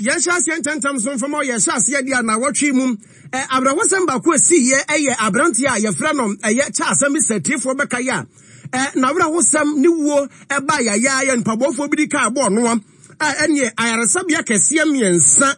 Yɛnhyɛ aseɛ ntɛmntɛm so mfa ma wo. Yɛhyɛ aseɛ deɛ a naawɔtwe mu ɛ, awerɛhosɛm baako a ɛsiiɛ ɛyɛ aberanteɛ a yɛfrɛ no ɛyɛ Charles Amissah atiefoɔ bɛkae a ɛ, n'awerɛhosɛm ne wuo ɛbaa yayaaya nipabɔfoɔ bi de kaa bɔɔ noɔ a ɛneɛ ayaresabea kɛseɛ mmiɛnsa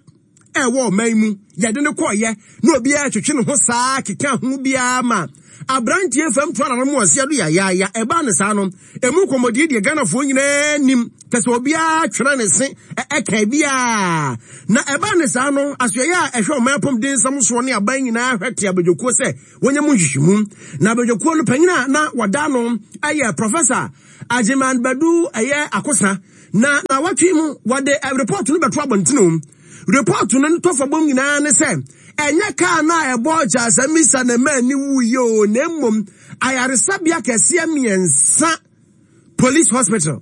ɛwɔ ɔman mu yɛde no kɔɔyɛ na obiara twetwe ne ho saa keka ho biara ma aberanteɛ fam to anano mu ɔseɛ do yayaaya. Ɛbaa ne saa no emu nkɔmmɔdie deɛ Ghanafoɔ nyinaa nim kyɛ sɛ obiara twere ne se ɛka biara. Na ɛbaa ne saa no asoɛeɛ a ɛhwɛ ɔman apɔmuden nsɛm soɔ ne aban nyinaa hwɛ te abadwakuo sɛ wɔnyɛ mu nhwehwɛmu. Na abadwakuo no panyin a na wɔda no ɛyɛ Professor Agyeman Badu ɛyɛ Akosa. Na naawɔtwe mu wɔde report no bɛto abɔntene o. Report no ne tɔfabom nyinaa ne sɛ ɛnyɛ kaa no a ɛbɔɔ Charles Amissah na ɛmaa ne wuiɛ o, na mmom ayaresabea kɛseɛ mmiɛnsa, Police Hospital,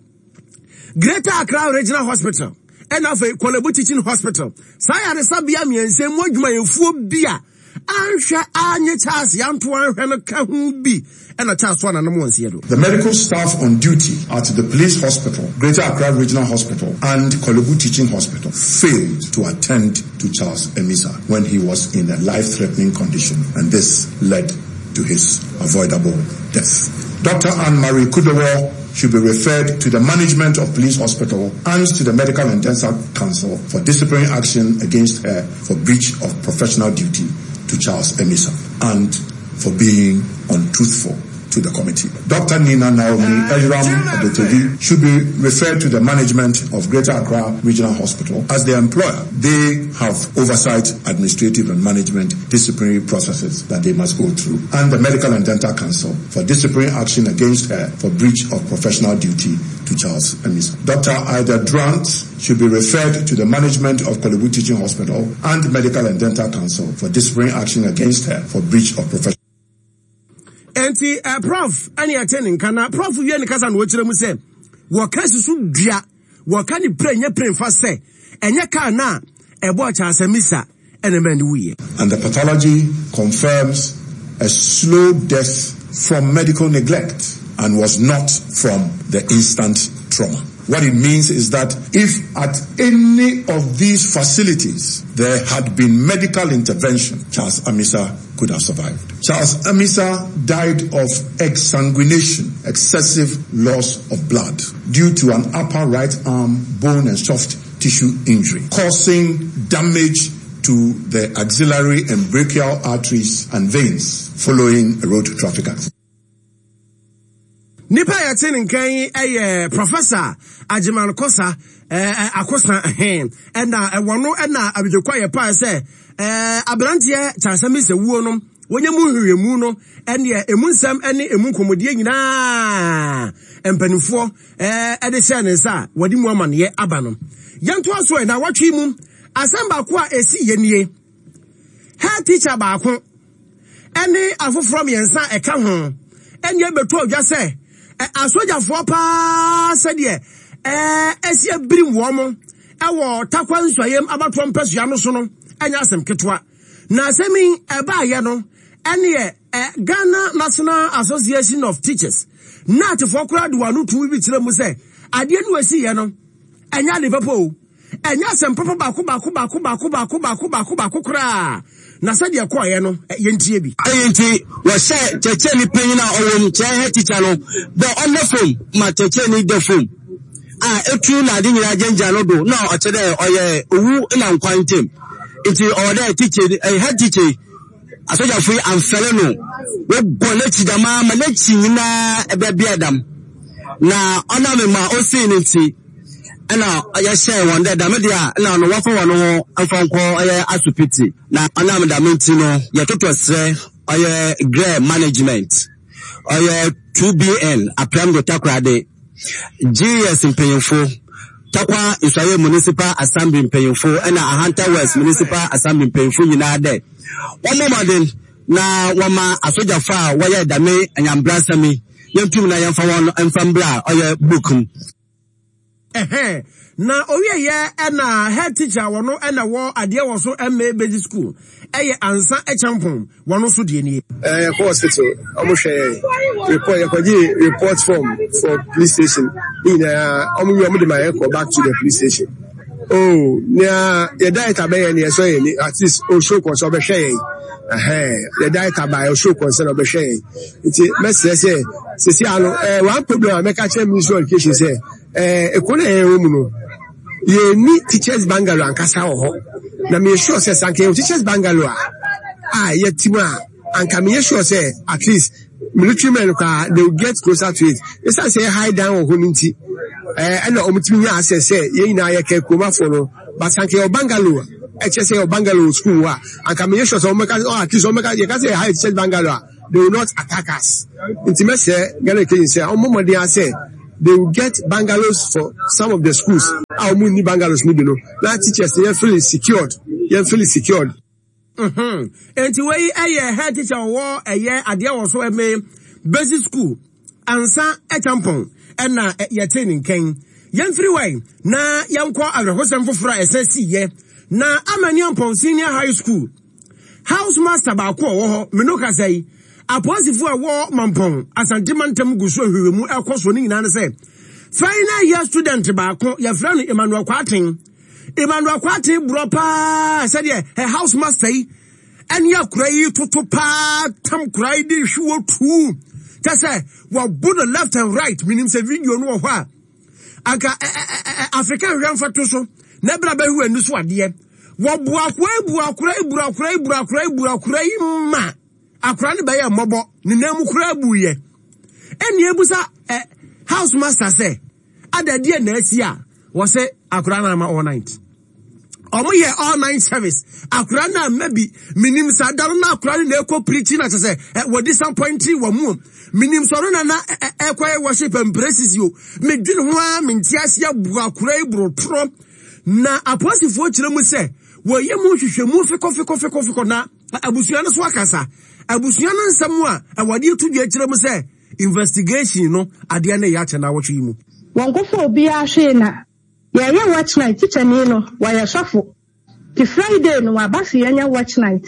Greater Accra Regional Hospital, ɛna afei Korle Bu Teaching Hospital. Saa ayaresabea mmiɛnsa mu adwumayɛfoɔ bi a anhwɛ anye Charles Yanto anhwɛ no ka ho bi ɛna Charles to ananom wɔn nseɛ do. The medical staff on duty at the Police Hospital, Greater Accra Regional Hospital and Korle Bu Teaching Hospital failed to attend to Charles Amissah when he was in a life-threatening condition, and this led to his avoidable death. Dr. Anne-Marie Kudowor should be referred to the management of Police Hospital and to the Medical and Dental Council for disciplinary action against her for breach of professional duty to Charles Amissah and for being untruthful to the committee. Dr. Nina Naomi Eyram Adotevi should be referred to the management of Greater Accra Regional Hospital as their employer. They have oversight, administrative and management disciplinary processes that they must go through, and the Medical and Dental Council for disciplinary action against her for breach of professional duty to Charles Amissah. Dr. Ida Durant should be referred to the management of Korle Bu Teaching Hospital and Medical and Dental Council for disciplinary action against her for breach of professional. Enti eh, Prof ɛne ɛte ne nka na Prof wie ne kasa na ɔkyerɛ mu sɛ wɔka si so dua wɔka ne pire nyɛ pire mfa sɛ ɛnyɛ kaa no a ɛbɔɔ Charles Amissah ɛna ɛma ne wuiɛ. And the pathology confirms a slow death from medical neglect and was not from the instant trauma. What it means is that if at any of these facilities there had been medical intervention, Charles Amissah could have survived. Charles Amissah died of exsanguination, excessive loss of blood, due to an upper right arm bone and soft tissue injury, causing damage to the axillary and brachial arteries and veins following a road traffic accident. Nipa a yɛte ne nkan yi yɛ Professor Agyeman Kosa eh, Akosa he ɛna ɛwɔ no ɛna abidjoko a yɛpae sɛ eh, aberanteɛ Kyasami sɛ wuo no wɔnyɛ mu nhwehwɛmu no ɛneɛ emu nsɛm ɛne emu nkɔmmɔdie nyinaa mpanimfoɔ eh, ɛde hyɛɛ ne nsa a wɔde mu amaneɛ aba no. Yɛntoa so ɛ na wɔtwe mu asɛm baako a ɛsi yɛ nie. Head teacher baako ne afoforɔ mmiɛnsa a ɛka ho ɛne ɛbɛtɔ odwa sɛ asogyafoɔ paa sɛdeɛ ɛsi abirim wɔn ɛwɔ Tarkwa Nsuayem abatoɔ mpasua no so no ɛnyɛ asɛm ketewa. Na asɛm yi ɛbaayɛ no ɛneɛ Ghana National Association of Teachers NATfoɔ koraa de wɔn ano tumi bi kyerɛ mu sɛ adeɛ no ɛsiiɛ no ɛnyɛ ade papa o. Ɛnyɛ asɛm papa baako baako baako baako baako baako baako baako koraa. Na sɛdeɛ ɛkɔeɛ no, yɛntie bi. Eyi ntsi, wɔhyɛɛ kyerɛkyerɛnyi panyin a ɔwɔ mu, kyerɛ head teacher no, dɛ ɔnda famu ma kyerɛkyerɛnyi da famu a etu na adze nyina gyinagyina no do na ɔkyerɛ dɛ ɔyɛ owu na nkwa ntamu. Ntsi ɔwɔ dɛ teacher head teacher yi, asogyafo yi ammfɛr no, woguan n'ekyir dɛmara ma n'ekyir nyina bɛbeaa dam. Na ɔnam ma osii no ntsi, nna yɛhyɛɛ hɔn dɛ dɛm de a nna ɔno wɔmfa hɔn ho mfa nkɔ ɔyɛ asopitsi. Na ɔnam dɛm ntsi no yɛtotɔ serɛ ɔyɛ GRE management, ɔyɛ 2BN Aprɛmdo Takoradi, GES mpanyimfo, Tarkwa Nsuaye Municipal Assembly mpanyimfo na Ahanta West Municipal Assembly mpanyimfo nyina dɛ wɔmbɔ mbɔdzen na wɔma asogyafo a wɔyɛɛ dɛm anyambrasɛm yi yentum na yɛmfa hɔn mfa mbra ɔyɛ book mu. Ɛhɛn, na owieɛ ɛna head teacher wɔno ɛna wɔ adeɛ wɔ so MA basic school ɛyɛ Ansa Acheampong wɔno nso deɛ nie. Ɛɛ yɛkɔ hospital ɔmo hwɛ yɛn report yɛkɔgye report form for police station ne nyinaa ɔmo wie ɔmo de ma yɛn kɔ back to the police station. Oh, nea yɛ diet abɛyɛ no yɛsɔ yɛn ni at least o show kɔn sɛ ɔbɛhwɛ yɛn ɛhɛn yɛ diet aba o show kɔn sɛ ɔbɛhwɛ yɛn nti mɛsrɛ sɛ sisi ano ɛɛ one problem a mɛka kyerɛ ministry of education sɛ ɛɛ ekuro na yɛn wɔ mu no yɛn ni teachers bungalow ankasa wɔ hɔ na meyɛ sure sɛ sanka yɛ teachers bungalow a a yɛte mu a anka meyɛ sure sɛ at least military men koraa they will get closer to it esan sɛ yɛ high down wɔ hɔ no nti ɛɛ ɛna wɔn tumi nya access sɛ yɛn nyinaa yɛ kɛ kuromafoɔ no but anka yɛ bungalow ɛkyɛ sɛ yɛ bungalow wɔ school hɔ a anka meyɛ sure sɛ wɔn bɛka oh at least wɔn bɛka yɛ ka sɛ yɛ high teachers bungalow a they will not attack us nti mɛsɛ Ghana education sɛ wɔn mmɔden asɛ they will get bungalows for some of the schools a wɔn nni bungalows no bi no na teachers yɛn feel secured yɛn feel secured. Mhm. Enti wei ɛyɛ head teacher ɔwɔ ɛyɛ adeɛ wɔ so ɛme basic school ansa ɛkyampɔn ɛna yɛte ne nkɛn. Yɛmfiri wai na yɛnkɔ awerɛhosɛm foforɔ a ɛsɛ si yɛ na Amaniampɔn Senior High School house master baako ɔwɔ hɔ meno kasa yi apolisifoɔ a ɛwɔ Mampɔn Asante mantam gu so nhwehwɛmu ɛkɔ so ne nyinaa ne sɛ final year student baako yɛfrɛ no Emmanuel Kwarteng Emmanuel Kwarteng borɔ paa sɛdeɛ ɛ house master yi ɛne akora yi toto paa tam kora yi de hwi wɔ tuu kyɛ sɛ wɔbo no left and right menim sɛ video no wɔ hɔ a anka Afrika nhwɛ mfa to so na ɛbra bɛhwe ani so adeɛ wɔbo akora yi bu akora yi bu akora yi bu akora yi bu akora yi ma akora no bɛyɛ mmɔbɔ ne nan mu koraa buyɛ ɛne ebusa ɛ house master sɛ Ada deɛ na asi a wɔsɛ akora no ama all night. Ɔmo yɛ all night service. Akora no ama bi. Menim sɛ ada no na akora no na ɛkɔ preaching na kyɛ sɛ wɔ disappointing wɔ mu. Menim sɛ ɔno na na ɛkɔyɛ worship and praises yo. Medwene ho ara mente aseɛ bu akora yi borotorɔ. Na apolisifoɔ kyerɛ mu sɛ wɔyɛ mu nhwehwɛmu fekɔ fekɔ fekɔ fekɔ na abusua no so akasa. Abusua no nsɛm a wɔde to dwa kyerɛ mu sɛ Investigation no adeɛ no reyɛ akyɛ naawɔtwe yi mu. Wɔnkɔfa obiara hwee na yɛyɛ watch night tikyani no wɔyɛ sɔfo nti Friday no waba se yɛnyɛ watch night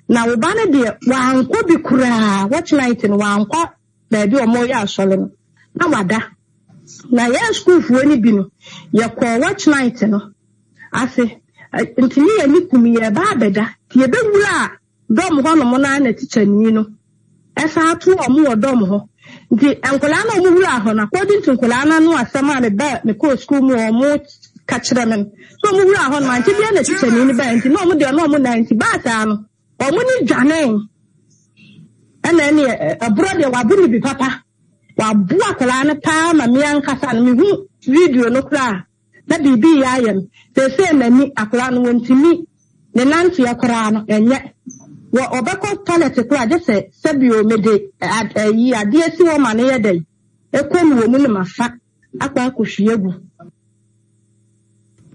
na wo ba no deɛ wankɔ bi koraa watch night no wankɔ baabi a wɔyɛ asɔre no na wada na yɛn sukuufoɔ no bi no yɛkɔɔ watch night no ase nti ne yɛn ani kum yɛba abɛda nti yɛbɛwura dɔm hɔnom no ara na tikyani no san too wɔn wɔ dɔm hɔ. Nti nkwadaa no a wɔwuraa hɔ no, according to nkwadaa no ano asɛm a meba mekɔɔ sukuu mu a wɔka kyerɛ me no, sɛ wɔwuraa hɔ no, ante biara na tikyani no bae nti na wɔn deɛ na wɔn nan nti baa saa no, wɔn ni dwanee. Ɛna ɛneɛ ɛborɔ deɛ wabo no bi papa. Wabo akwadaa no paa ma me ankasa no mehu video no koraa. Na biribi reyɛ ayɛ no. Seesei n'ani, akwadaa no, wɔntumi, ne nanteɛ koraa no, ɛnyɛ. Wɔ, ɔbɛkɔ tɔlɛt koraa gye sɛ, sɛbio, mede ad, ayi, adeɛ si hɔ ma no yɛ dɛn, ɛkɔ mu wɔ mu na mafa akɔ akɔhwie agu.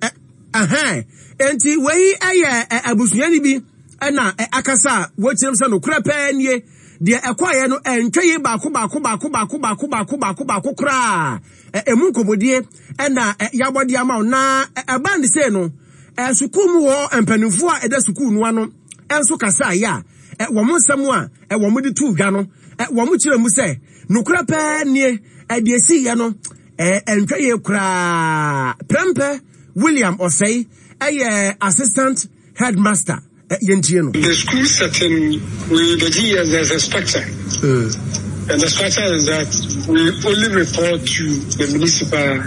Ɛ, ɛhɛn. Enti wei yɛ ɛ, abusuani bi na ɛ, akasa a wɔkyerɛm sɛ nokorɛ pɛɛ nie. Deɛ ɛkɔeɛ no, ɛntwa yie baako baako baako baako baako baako baako baako koraa. Emu nkɔmmɔdie na yɛabɔ de ama wo. Na ɛbaa ne sei no, sukuu mu hɔ mpanimfoɔ a ɛda sukuu no ano nso kasaeɛ a wɔn nsɛm a wɔde too dwa no, wɔkyerɛ mu sɛ nokorɛ pɛɛ nie, deɛ ɛsiiɛ no, ɛntwa yie koraa. Prɛmpɛ William Osei yɛ assistant headmaster. Yɛntie no. The school setting, we, the GES, there's a structure. And the structure is that we only report to the municipal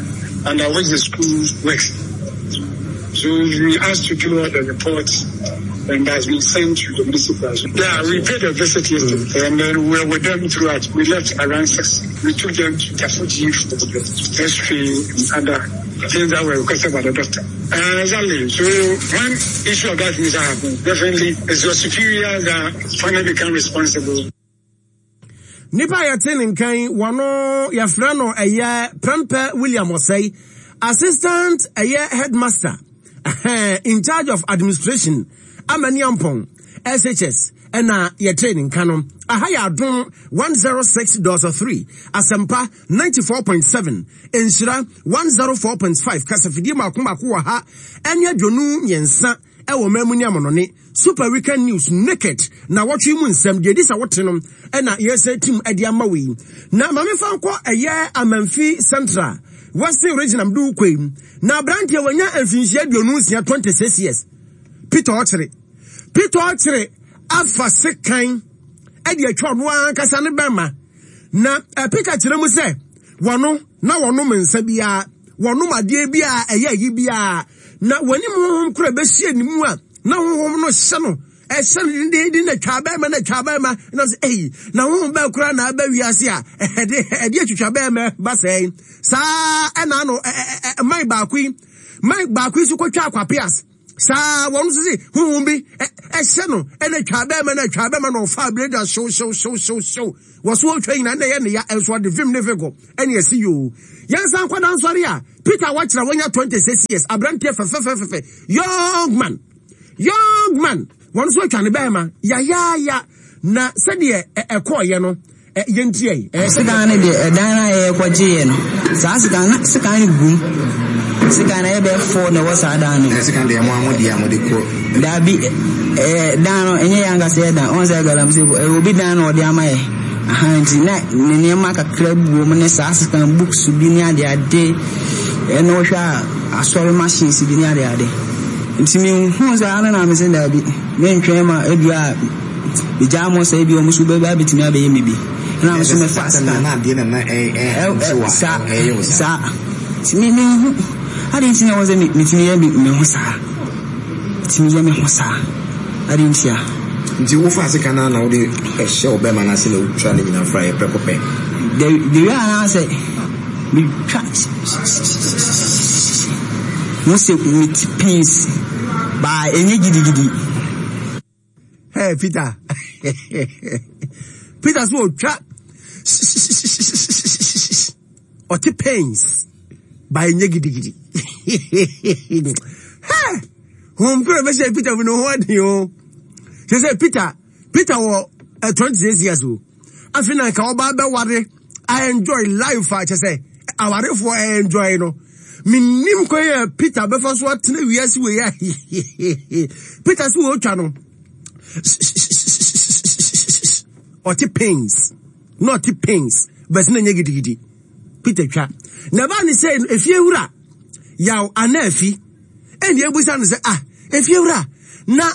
under which the school works. So we asked to do all the reports and has been sent to the municipal. Yeah, we paid a visit yesterday and then we were with them throughout. We left around 6. We took them to Tafuji for the x-ray and other things that were requested by the doctor. Exactly. So when issue of that nature happens, definitely it's your superior that finally become responsible. Nipa a yɛte ne nkan yi, wɔno yɛfrɛ no ɛyɛ Prempeh William Osei, Assistant ɛyɛ Headmaster in charge of Administration, Amaniampong SHS ɛna yɛte ne nka no. Aha yɛ Adom 106.3, Asɛmpa 94.7, Nhyira 104.5, kasafidie mako mako wɔ ha ɛne 23 ɛwɔ man mu ne amanɔne. Super Weekend News Naked na wɔtwe mu nsɛm deɛ ɛdi sɛ wote no ɛna yɛsɛ tim ɛde ama wei. Na ma mefa nkɔ ɛyɛ Amanfi Central. Western Region am de wokɔ yi. Na aberanteɛ wanya mfinhyia 26, 26 years. Peter Ɔkyere. Peter Ɔkyere afa sekan de atwa ɔno ankasa ne bɛrima. Na Peter kyerɛ mu sɛ wɔno na wɔnom nsa biara, wɔnom adeɛ biara ɛyɛ ayi biara. Na wɔnim honhom koro ɛbɛhyia ne mu a na honhom no hyɛ no ɛhyɛ no dendeenden na twa bɛrima na twa bɛrima na sɛ eyi na honhom bɛɛ koraa na aba wiase a ɛde ɛde atwitwa bɛrima ba sɛɛ saa ɛna ano ɛ man baako yi man baako yi so kɔtwa akwapeas saa wɔn nso se honhom bi ɛhyɛ no ɛna twa bɛrima na twa bɛrima na ɔfa abireda hyew hyew hyew hyew hyew wɔ so ɔtwa nyina na ɛyɛ ne ya ɛnso ɔde vim ne vego ɛne ɛsi yoo yɛn nsa nkɔda nsɔre a Peter wakyerɛ wɔnya 26 years aberanteɛ fɛfɛfɛfɛ young man Young man, wɔn nso atwa ne bɛrima yayaaya na sɛdeɛ ɛkɔɔyɛ no yɛntie yi. Sekan no deɛ ɛdan no a yɛkɔgyeeɛ no saa sekan na sekan no gum sekan no ɛyɛ bɛyɛ fɔ na ɛwɔ saa dan no mu. Sekan deɛ mo a mo deɛ a mo de kɔ. Daabi ɛɛ dan no ɛnyɛ yɛn ankasa yɛ dan wɔn sɛ galamsey ɛyɛ obi dan na ɔde ama yɛ ahan nti na ne nneɛma kakra bi wɔ mu ne saa sekan books bi ne ade ade ɛna ɔhwɛ a asɔre machines bi ne ade ade. Nti mehuu saa no na mese daabi, mentwɛn ma ebia megyaa mo sɛ ebia wɔn nso bɛba abɛtumi abɛyɛ me bi. Ɛna me nso mefaa sika. Na adeɛ na na ɛnte wa ɛyɛ wo saa. Nti me menhu adeɛ nti na ɛwɔ sɛ metumi yɛ me ho saa. Metumi yɛ me ho saa. Adeɛ nti a. Nti wofaa sika no na wode ɛhyɛ wo bɛma no ase na wotwa ne nyinaa fra yɛ prɛko pɛ. The way a na sɛ Metwa ho sɛ mete pains baa ɛnyɛ gidigidi. Hey Peter, Peter so otwa ɔte pains baa ɛnyɛ gidigidi. Hey, hom kura bɛhyɛ Peter mu no ho aden o. Sɛ sɛ Peter, Peter wɔ 26 years o. Afei na nka ɔba bɛware I enjoy life a kyɛ sɛ awarefoɔ I enjoy no. Menim kwan a Peter bɛfa so atena wiase wei a Peter so wɔtwa no ɔte pains na ɔte pains bɛsi na nyɛ gidigidi Peter twa na ɛbaa ne sɛ efie wura yaw ana afi ɛna ebusa no sɛ ah efie wura na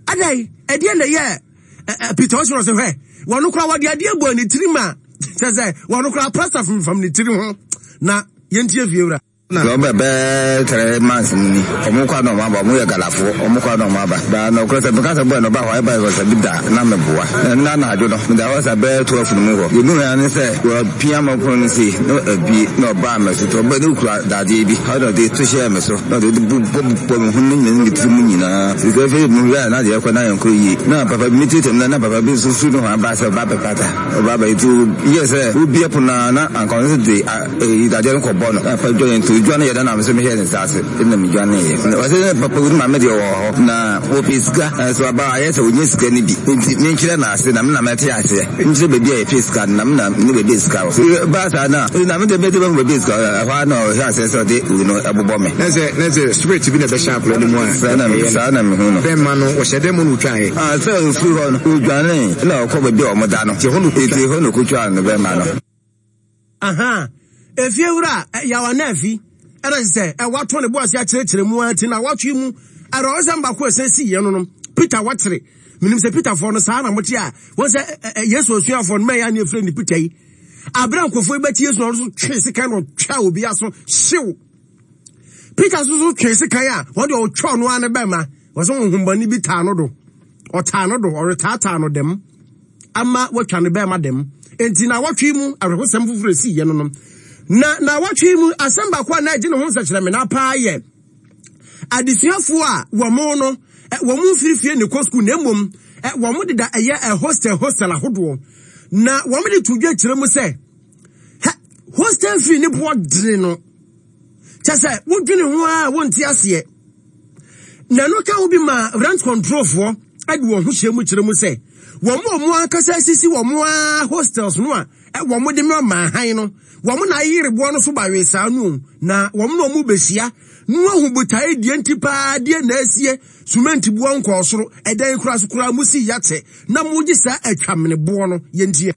adai ɛdeɛ na ɛyɛ Peter ɔsoro sɛ hwɛ wɔn koraa wɔde adeɛ bɔ ne tirim a kyɛ sɛ wɔn koraa prasta fomfam ne tiri ho na yɛntie fie wura. Na ɔbɛ bɛɛ tɛrɛ months mu ni ɔmo kɔ na ɔmo aba ɔmo yɛ galafoɔ ɔmo kɔ na ɔmo aba baa na ɔkora sɛ meka sɛ bɔɛ na ɔba hɔ ɛba yɛ sɛ bi da na meboa na nna anadwo no meda hɔ sɛ bɛɛ 12 no mu hɔ yɛdu hɔ ne sɛ wɔpia ma pono no sei na abie na ɔbaa me so tɔ ɔbɛ ne okura dadeɛ bi hɔ na ɔde to hyɛɛ me so na ɔde bobɔ bobɔ me ho ne nyina ne me tiri mu nyinaa. Sisi afei me wura na deɛ ɛkɔ na yɛn kɔ yie. Na papa bi me tiri tɛm na na papa bi nso firi no ho aba sɛ ɔba bɛpata ɔba bɛ nti yɛ sɛ obi ɛpono na na anka ɔno nso de eyi dadeɛ no kɔbɔ no na papa dwa nti odwa no yɛ dɛ na me nso mehwɛ ne nsa ase ɛna me dwa ne yɛ. Ɔsɛ sɛ papa wuri maame deɛ ɔwɔ hɔ na wɔpɛ sika nso aba ayɛ sɛ ɔnyɛ sika no bi nti menkyerɛ no ase na me na mɛte aseɛ. Nkyerɛ baabi a yɛpɛ sika no, na me na menim baabi a sika wɔ. Ɛbaa saa no a, na me deɛ mɛde bɛhu baabi a sika wɔ. Ɛhɔ ara na ɔhyɛɛ aseɛ sɛ ɔde wei no bobɔ me. Na sɛ, na sɛ spirit bi na ɛbɛhyɛ akwadaa no mu a, Saa na, ɛyɛ no. saa na mehu no. Bɛmma no, wɔhyɛ dɛn mu na ɔtwaeɛ? Ah, sɛ ɔfiri hɔ no, ɔdwanee, ɛna ɔkɔ baabi a wɔda no. Nti ɛhɔ na ɔkɔtwaa. Nti ɛhɔ na ɔkɔtwaa ne bɛmma no. Ahaa, efiewura a Yaw Anaafi na kyerɛ sɛ watɔ ne bo ase akyerɛkyerɛ mu ara ti na awɔtwe mu awerɛhosɛm baako a ɛsan sii yɛn no no, Peter wɔkyere. Menim sɛ Peterfoɔ no saa na mote a, wɔn sɛ Yesu asuafoɔ no mɛyɛ ne efirɛ ne Peter yi. Abere a nkurɔfoɔ yi bɛte Yesu na ɔno nso twee sekan na ɔtwa obi aso hyew. Peter nso so twee sekan a wɔn deɛ ɔtwa ɔno ara ne bɛma. Wɔsɛ honhommɔne bi taa no do. Ɔtaa no do, ɔretaataa no dɛm. ama watwa ne bɛrima dɛm. Enti naawɔtwe mu awerɛhosɛm foforɔ esii yɛ no no. Na naawɔtwe mu asɛm baako a na ɛgye ne ho nsɛkyerɛmena paa yɛ adesuafoɔ a wɔn no wɔn mfiri fie ne kɔ sukuu na mmom wɔn deda ɛyɛ hostel hostel ahodoɔ na wɔn de to dwa kyerɛ mu sɛ hostel fee ne boɔ dene no Kyɛ sɛ wodwene ho ara a wonte aseɛ. Na ɛno ka ho bi ma rent controlfoɔ de wɔn ho hyɛ mu kyerɛ mu sɛ wɔn a wɔn ankasa asisi wɔn ara hostels no a wɔn de ma han no, wɔn na ayere boɔ no so bawee saa no na wɔn na wɔn bɛhyia na wɔahu botae deɛ nti paa deɛ na asie sumenti boɔ nkɔɔ soro ɛdan kura so koraa mo si yɛakyɛ na mogye saa atwamene boɔ no yɛntie.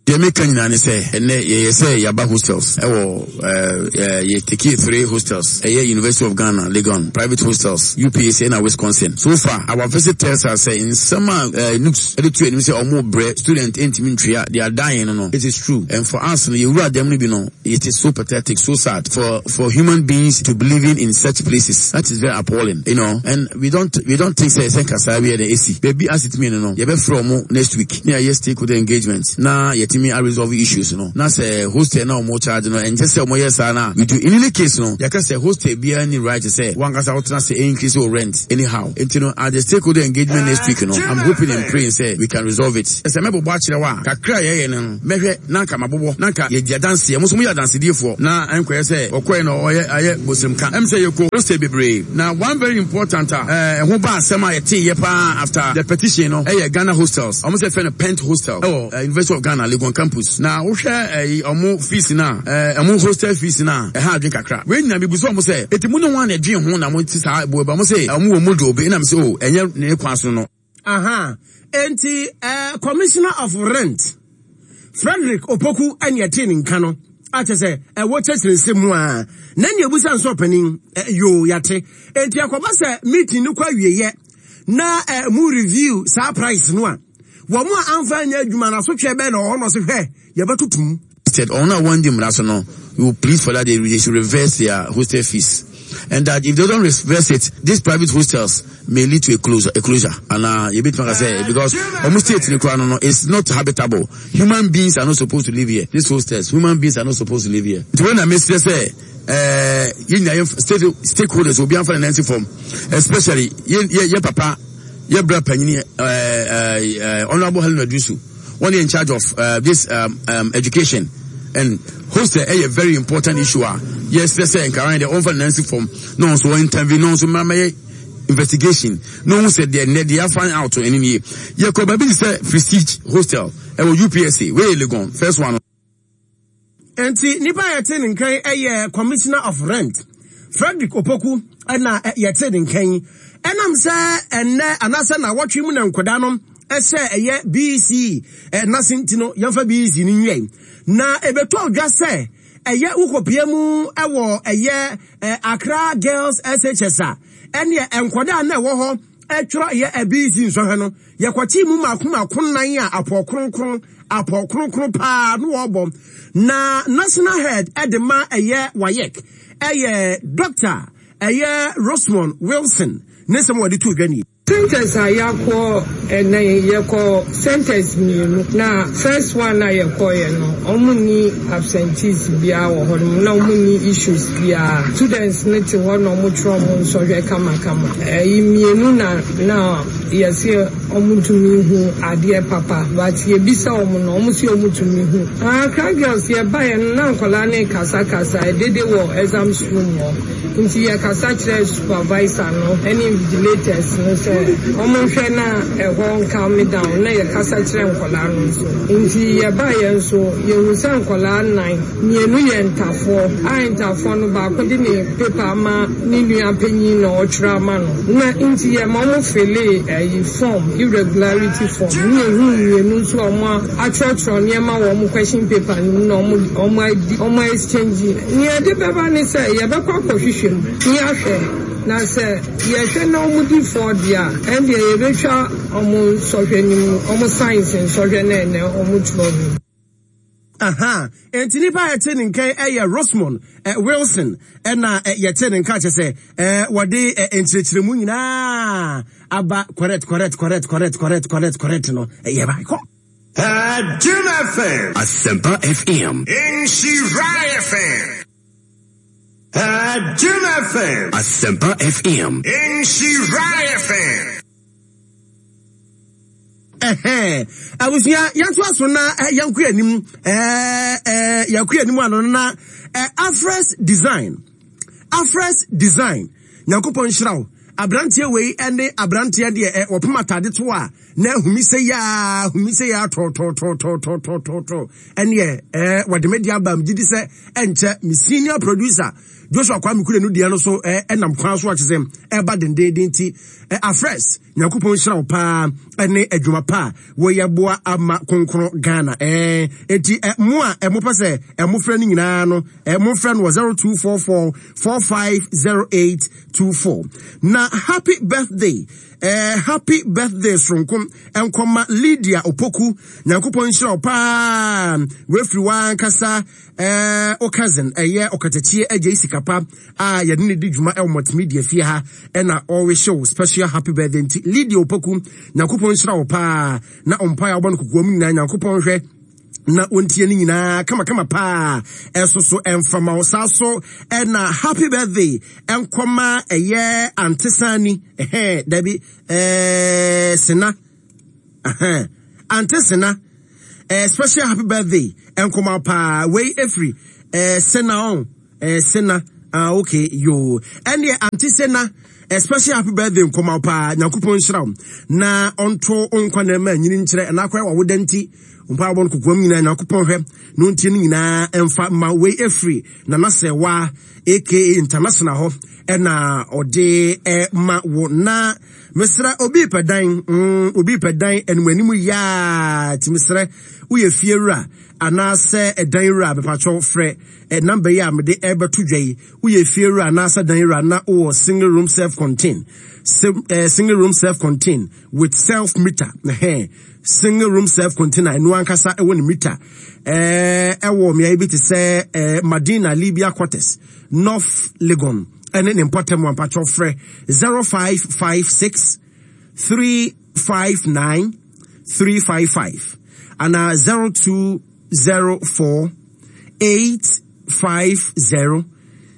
Deɛ meka nyinaa ne sɛ, ɛnnɛ yɛyɛ sɛ yɛaba hostels wɔ eh, yɛ tekee three hostels, ɛyɛ University of Ghana, Legon, private hostels, UPAC ɛna Wisconsin. So far, our visit tells us sɛ nsɛm a eh, NUGS de to anim sɛ ɔmo brɛ student ntumi ntua, they are dying no no, it is true. And for us no, yɛwura dɛm no bi no, it is so pathetic, so sad for for human beings to be living in such places. That is very appalling, you know. And we don't we don't think sɛ sɛ nka saa bi yɛ dɛ esi. Baabi asetumi no no, yɛbɛfrɛ ɔmo next week na yɛayɛ stakeholder engagement na yɛtumi a resolve issues no. Na sɛ hostel na ɔmo charge no, ɛnkyɛ sɛ ɔmo yɛ saa na we do. In any case no, yɛka sɛ hostel biara nni right sɛ wankasa wotena ase increase wo rent anyhow. Nti no, at the stakeholder engagement next week no, I'm hoping and praying sɛ we can resolve it. Sɛ mɛbobɔ akyerɛ wo a, kakra a yɛyɛ no, Mɛhwɛ na anka mabobɔ, na anka yɛadi adanseɛ. Mo nso moyɛ adansediefoɔ, na ɛnkɔyɛ sɛ ɔkɔɛ na ɔyɛ ayɛ bosremka. Ɛm sɛ yɛkɔ hostel bebree, na one very important a ɛho baa asɛm a yɛteeɛ paa after the petition no ɛyɛ Ghana hostels. Wɔn sɛ yɛfrɛ no Pent Hostel ɛwɔ University of Ghana, Legon campus. Na wohwɛ ɛyi wɔn fees no a, wɔn hostel fees no a, ɛha adwene kakra. Wei nyinaa mebisa wɔn sɛ, enti mo ne hwan na ɛdwen ho na mote saa bo ba? Wɔn se wɔn wɔ module bi, ɛna mese oh ɛnyɛ ne kwan so no. Aha, enti eh, Commissioner of Rent, Frederick Opoku ɛne ɛtee ne nka no, akyɛ sɛ ɛwɔ kyerɛkyerɛ nsɛm mu a, na nea ebusa nso ɔpanin, eh, yoo, yate. Enti ɛkɔba sɛ meeting no kɔ awieɛ na eh, mu review saa price no a, wɔn a amfa anyɛ adwuma no asotweɛ bɛn na ɔwɔ hɔ na ɔse hwɛ, yɛbɛtoto mu. Said ɔno a wɔndi mmara so no, we will plead for that they, they should reverse their hostel fees and that if they don't reverse it, these private hostels may lead to a closure, a closure. And uh, you bit say because almost state no no it's not habitable. Human beings are not supposed to live here. These hostels, human beings are not supposed to live here. When I miss say uh, state stakeholders will be on financing form, especially ye papa, ye bra panyini, uh, uh, Honorable Helen Adusu. Wɔn yɛ in charge of uh, this um, um, education and hostel ɛyɛ very important issue a yɛsrɛ sɛ nkaran deɛ ɔmfa ne nan si fam na ɔnso wɔ intervene na ɔnso mmara mɛyɛ investigation na ɔhu sɛ deɛ nnɛ deɛ afa out ɛne nie yɛkɔ baabi te sɛ prestige hostel ɛwɔ UPSA wei yɛ Legon first one. Enti nipa a yɛte ne nka yi yɛ Commissioner of Rent, Frederick Opoku na yɛte ne nka yi. Ɛnam sɛ ɛnnɛ anaasɛ nawɔtwe mu na nkwadaa no ɛsɛ ɛyɛ BEC n'ase nti no yɛmfa BEC no nwiɛ. Na ɛbɛtɔ dwa sɛ ɛyɛ wokɔpie mu ɛwɔ ɛyɛ Accra Girls SHS a ɛneɛ nkwadaa na ɛwɔ hɔ ɛtwerɛ yɛ BEC nsɔhwɛ no Yɛkɔkyee mu mmaako mmaako nnan a apɔw kronkron, apɔw kronkron paa no wɔbɔ. Na National Head de ma ɛyɛ WAEC ɛyɛ Dɔkta ɛyɛ Rosemond Wilson ne nsɛm a wɔde too dwa nie. Centres a yɛakɔ ɛnɛ yi, yɛkɔ centres mmienu. Na first one a yɛkɔeɛ no, wɔn nni absentees biara wɔ hɔ nom, na wɔn nni issues biara. Students no te hɔ na wɔtwerɛ wɔn nsɔhwɛ kamakama. Ɛyi mmienu na na Yɛse ɔmo ntumi nhu adeɛ papa but yɛbisa ɔmo no ɔmo se ɔmo tumi hu. Accra girls yɛbaeɛ no na nkwadaa no rekasa kasa dede wɔ exams room hɔ nti yɛkasa kyerɛɛ supervisor no ne invigilators no sɛ ɔmo nhwɛ na ɛhɔ ncalm down na yɛkasa kyerɛ nkwadaa no nso nti yɛbaeɛ nso yɛhu sɛ nkwadaa nnan mmienu yɛ ntafoɔ a ntafoɔ no baako de ne paper ama ne nua panyin na ɔtwerɛ ama no na nti yɛ ma ɔmo filee ɛyi form irregularity form ne yɛ huu mmienu nso a ɔmo atwerɛtwerɛ nneɛma wɔ ɔmo question paper no mu na ɔmo ɔmo adi ɔmo exchange. Nea ɛde bɛba ne sɛ yɛbɛkɔ akɔhwehwɛ mu ne yɛahwɛ na sɛ yɛhwɛ na ɔmo di fɔ deɛ a ɛndeɛ yɛbɛtwa ɔmo nsɔhwɛ no mu ɔmo science nsɔhwɛ no a ɛnɛ ɔmo twerɛ no mu. Aha, enti nipa a yɛte ne nka yi yɛ Rosemond Wilson ɛna yɛte ne nka kyɛ sɛ wɔde nkyerɛkyerɛmu nyinaa aba correct correct correct correct correct correct correct no yɛ ba kɔ. Adom FM. Asempa FM. Nhyira FM. Adom FM. Asempa FM. Nhyira FM. Ɛhɛn, abusua yɛnto aso na yɛnkɔ anim. Ɛɛ yɛkɔ anim ano na Afres Design. Afres Design. Nyankopɔn nhyira wo. Abranteɛ wei ne abranteɛ deɛ wɔpem atade to a na ahumi sɛ yaa ahumi sɛ yaa tɔɔtɔɔtɔɔtɔɔtɔɔtɔɔ ɛneɛ ɛɛ wɔde me de aba megye di sɛ ɛnkyɛ me senior producer. Joshua Kwame Kure no deɛ no so ɛnam kwan so akyɛ sɛ ɛba dendenden ti afrɛs Nyankopɔn nhyira wo paa ɛne adwuma pa a wɔyɛ boa ama kronkron Ghana ɛɛ eti mo a ɛmo pɛ sɛ ɛmo frɛ no nyinaa no ɛmo frɛ no wɔ 0244 450824 na happy birthday ɛɛ happy birthday soronko nkɔma Lydia Opoku Nyankopɔn nhyira wo paa wafiri wankasa ɛɛ o cousin ɛyɛ ɔkatakyie agye sikapa a yɛde ne di dwuma ɛwɔ multimedia fie ha ɛna ɔrehyɛ wo special happy birthday nti Lydia Opoku Nyankopɔn nhyira wo paa na ɔmpae a wɔbɔ no kokoa mu nyinaa Nyankopɔn hwɛ na wɔntie no nyinaa kamakama paa ɛso so ɛmfama wo saa so ɛna happy birthday ɛnkɔma ɛyɛ antesani ɛhɛn dabi ɛɛ sena ɛhɛn ante sena ɛɛ special happy birthday ɛnkɔma paa wei ɛfiri ɛɛ sena ɔn Eh Sena ah okay yoo ɛneɛ ante Sena eh, special happy birthday nkɔma wo paa Nyankopɔn nhyira wo na ɔnto nkwa na ɛma nyini nkyerɛ ɛna akɔyɛ wawoda nti mpa abɔ no kokoam nyinaa Nyankopɔn hwɛ na ɔntie no nyinaa ɛmfa ma wei ɛfiri Nana Sɛwa aka international hɔ ɛna ɔde ɛma wo na mesrɛ obi pɛ dan mm, obi pɛ dan animanim yaa ti mesrɛ woyɛ fie wura anaasɛ ɛdan wura mepatwɔ frɛ Eh, number yi a mede ɛrebɛto dwa yi, woyɛ fie wura anaasɛ dan wura na wowɔ single room self contain, eh, single room self contain with self meter, eh, single room self container, ɛno ankasa ɛwɔ ne meter, eh, ɛwɔ mmeaeɛ bi te sɛ eh, Madina Libya quarters, North Legon, ɛne ne mpɔtam ampakyɛw frɛ 0556 359 355 anaa 02 04 850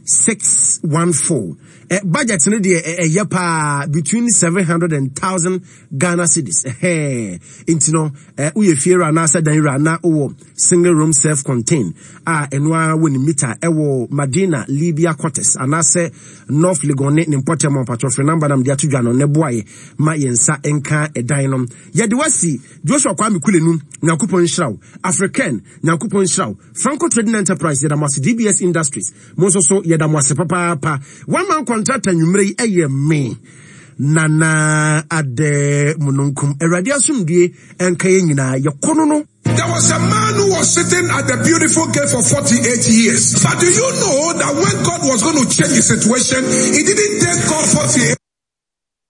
614. Eh, budget no deɛ ɛyɛ eh, paa between 700 and 1000 Ghana cedis. Eh, nti no, eh, woyɛ fie wura anaasɛ dan wura na wowɔ single room self contained a ɛno ara wɔ ne mita ɛwɔ Madina Libya quarters anaasɛ North Legon ne ne mpɔtam ɔpatwɔ frɛ namba nam de ato dwa no ne boaeɛ ma yɛn nsa nka ɛdan no. Yɛde wasi Joshua Kwame Kulenu, Nyankopɔn nhyira wo. African, Nyankopɔn nhyira wo. Franco Trading Enterprise, yɛda mo ase. DBS Industries, mo nso so yɛda mo ase papaapa. One man contractor nwummerɛ yi ɛyɛ me. Nana Adɛ Mununkum. Awurade asomdue nka yɛn nyinaa. Yɛkɔ no no. There was a man who was sitting at the beautiful gate for 48 years. But do you know that when God was going to change his situation, he didn't take God 48.